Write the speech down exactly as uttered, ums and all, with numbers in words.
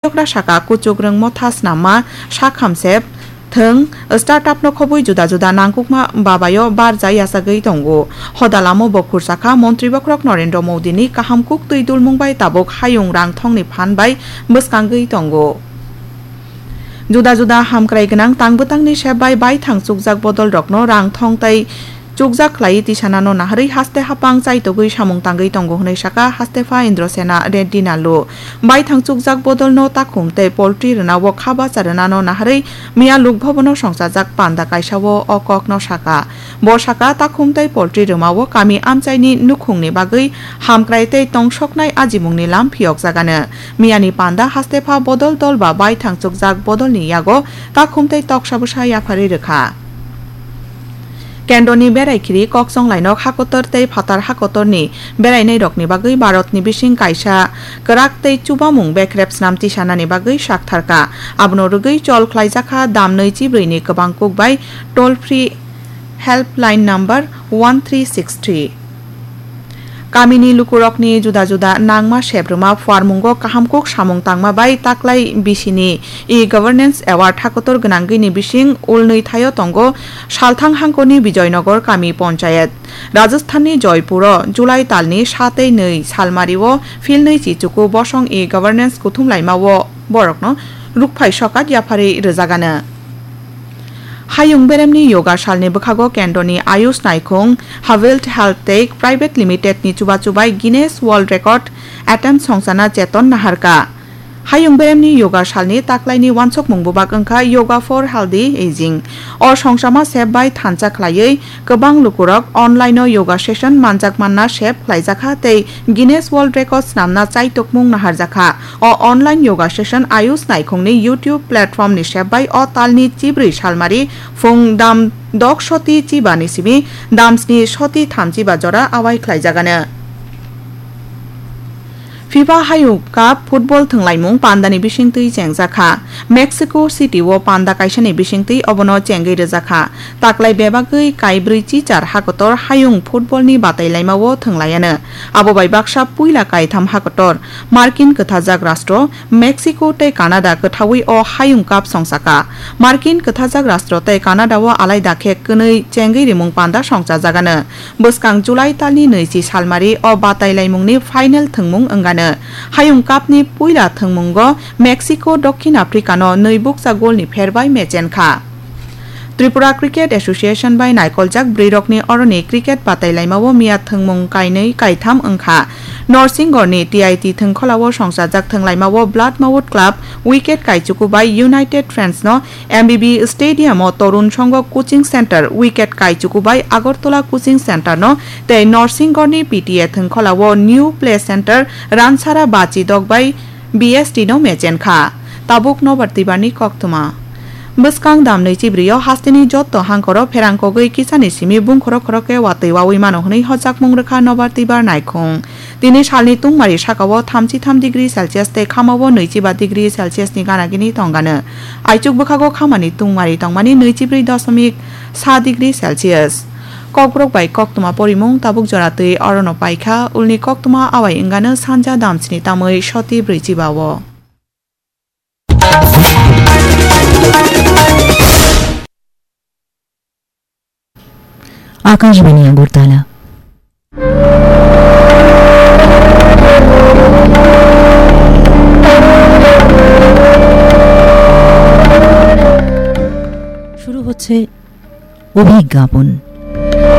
Chokra saka, kuchuk rwng motha snamma sak hamsep thwng, startup no khobwi juda juda nangkukma babayo barja yachagwi tongo. Hoda lamo bo khursakha, Montri Bokhorok Narendra Modi ni kaham kuk twi dulmung bai tabuk hayung rang thongni phan bai bwskangwi tongo. Juda juda hamkrai gwnang tang bwtangni sep bai baithang chukjak bodol rokno rang thong tai chukjak khlaiwi tisanano naharwi haste hapang chaitogwi samung tangwi tongo hwnwi saka Hastepha Indrasena Reddy Nallu. Baithang chukjak bodolno takhum tei poultry rwnao kha bacha rwnano naharwi miya Lok Bhabono songchajak panda kaisao o kokno saka. Bo saka, takhum tei poultry rwmao kami amchaini nukhungni bagwi hamkrai tei tongsoknai ajimungni lam phiyokjagano. Miyani panda Hastepha bodol dol ba baithang chukjak bodolni yago takhum tei toksa bwsa yapharwi rwkha. Kendroni berai khiri kokchong lainok hakotor tei phatar hakotorni berainairokni bagwi Bharatni bising kaisa kwrak tei chubamung bekrep snam tisanani bagwi saktharkha. Abono rwgwi chol khlaijakha dam nwi chibrwi ni kwbang kuk bai toll free helpline number one three six three. Kamini lukurokni juda juda nangma seprwma phuarmungo kaham kuk samung tangma bai taklai bisini e-governance award hakotor gwnangwini bising ulnwi thaio tongo Salthang hangkoni Bijoynagar kami ponchayat. Rajasthanni Joypuro July talni sa tei nwi salmario philnwi chichuku bosong e-governance kuthum laimao borokno rukphai sokat yapharwi rwjagano. Hayung beremni yoga salni bwkhago kendroni Ayush naikhung Havild Health Tech Private Limited ni chubachu bai Guinness World Record attempt songchana cheton naharkha. Hayung beremni yoga salni taklaini wansokmung bubak wngkha Yoga for Healthy Aging. O songchama sep bai thansa khlaiwi kwbang lukurok online-o yoga session manjak manna sep khlaijakha tei Guinness World Record snamna chaitokmung naharjakha. O online yoga session Ayush naikhungni YouTube platform ni sep bai o talni chibrwi salmari phung dam dok soti chiba ni simi dam sni soti thamchiba jora awai khlaijagano. FIFA Hayung Cup football thwnglaimung pandani bisingtwi chengjakha. Mexico City o panda kaisani bisingtwi obono chengwi rwjakha. Taklai bebagwi kaibrwi chichar hakotor hayung football ni batailaimao thwnglaiano. Abo bai baksa puila kaitham hakotor Markin kwthajak rastro Mexico tei Canada kwthaui o Hayung Cup songsaka. Markin kwthajak rastro tei Canada o alaida khe kwnwi chengwi rimung panda songsajagano. Bwskang July talni nwichi salmari o batailaimungni final thwngmung wngano. Hayung Cup ni puila thwngmungo Mexico Dokhin Africa no nwi bukcha goal ni pher bai mechenkha. Tripura Cricket Association bai naikoljak bwrwirokni oroni cricket batailaimao miya thwngmung kainwi kaitham wngkha. Norsinggorni T I T thwngkholao songchajak thwnglaimao Bloodmouth Club wicket kaichuku bai United Friends no M B B Stadium o Torun Songho Coaching Center wicket kaichuku bai Agartala Coaching Center no tei Norsinggorni P T A thwngkholao New Play Center Ransara Bachi Dok bai B S T no mechenkha. Tabuk nobar twibarni koktwma. Bwskang damnwi chibrwio hasteni jotto hangkoro pherang kogwi kisani simi bungkhoro khoro khe watwi wawi mano hwnwi hojakmung rwkha nobar twibar naikhung. Tini salni tungmari sakao thamchi tham degree Celsius tei khamao nwichi ba degree Celsius ni gana gini tongano. Aichuk bwkhago khamani tungmari tongmani nwichi brwi doshomik sa degree Celsius. Kokborok bai koktwma porimung tabuk jora twi orono paikha, ulni koktwma awai wngano sanja damsni tamwi soti brwi chiba o. Akashvani আগরতলা। শুরু হচ্ছে অভিজ্ঞাপন।